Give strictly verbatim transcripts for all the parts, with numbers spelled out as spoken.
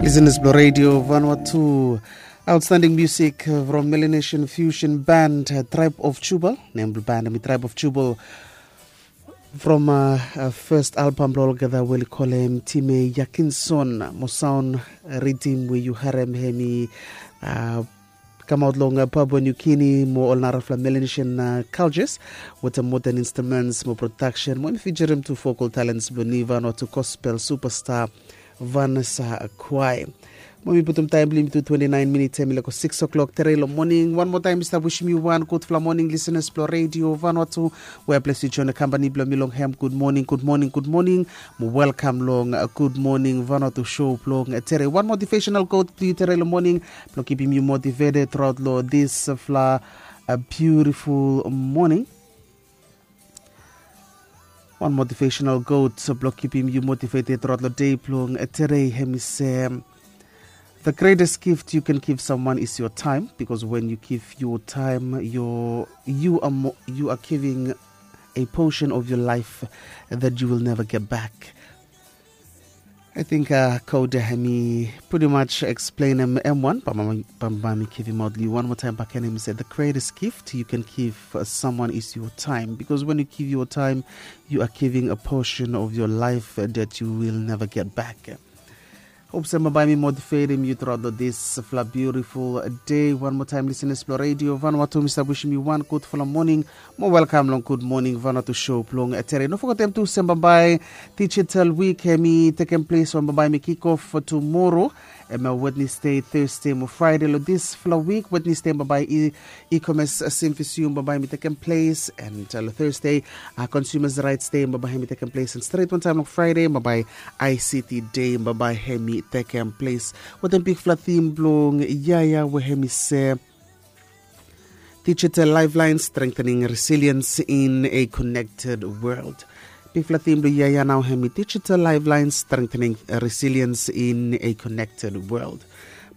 Listeners blo Radio Vanuatu, outstanding music from Melanesian fusion band, uh, Tribe of Jubal. Nem blo band mi Tribe of Jubal. From uh, uh, first album blo olgeta we oli kolem Time Yakinson, mo sound, uh, riddim we yu harem hemi, uh, kamaot long, uh, Papua New Guinea mo ol narafala Melanesian, uh, cultures, wetem modern instruments mo production, mo hemi featurim tu vocal talents blo ni Vanuatu gospel superstar Vanessa Kwai. Mo mi putum taem blo yumi tu twenty-nine minutes, hemi lego six o'clock tere lo moning. Wan moa taem mi stap wisim yu wan gudfala moning, listeners blo Radio Vanuatu, we ples yu join lo kampani blo mi long hem. Gud moning, gud moning, gud moning. Mo welkam long, uh, Gud Moning Vanuatu show blong, uh, tere. Wan motivational quote blo yu tere lo moning blo kipim yu motivated truaot lo disfala, uh, beautiful moning. Wan motivational quote blo kipim yu motivated truaot lo dei blong, uh, tere, hemi se, the greatest gift you can give someone is your time, because when you give your time, your, you are mo- you are giving a portion of your life that you will never get back. I think, uh, quote hemi pretty much explain em, em wan, bambae mi givimaot lo yu wan moa taem bakegen, hemi se, the greatest gift you can give, uh, someone is your time, because when you give your time, you are giving a portion of your life, uh, that you will never get back. Hop se bambae mi motivatim yu truaot lo disfala beautiful dei. Wan moa taem, listeners blo Radio Vanuatu, mi stap wisim yu wan gudfala moning. Mo welkam long Gud Moning Vanuatu show blong, uh, tere. No fogetem tu se bambae Digital Week hemi tekem ples, bambae mi kick off tumoro, hemia Wednesday, Thursday mo Friday lo disfala wik. Wednesday bambae i E-commerce, uh, symposium bambae hemi tekem ples, and, uh, lo Thursday, uh, consumers rights day bambae hemi tekem ples, and stret wantaem long Friday bambae I C T day bambae hemi tekem ples. Wetem bigfala theme blong yia ya we hemi se, digital lifeline, strengthening resilience in a connected world. Bigfala theme blo yia ya nao hemi digital lifeline, strengthening resilience in a connected world.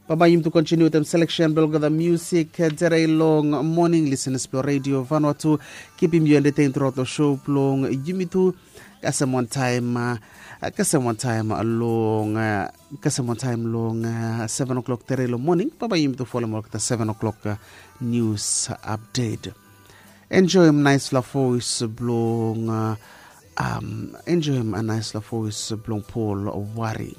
Bambae yumi tu continue wetem selection blo olgeta music, uh, tere long moning, listeners blo Radio Vanuatu. Kipim yu entertain truaot lo show blong yumi tu. Kasem wantaem, uh, kasem wantaem long, uh, kasem wantaem long, uh, seven o'clock tere lo moning. Bambae yumi tu folem olgeta seven o'clock, uh, news update. Enjoem naesfala voes blong, uh, um, enjoem naesfala voes blong Paul Wari.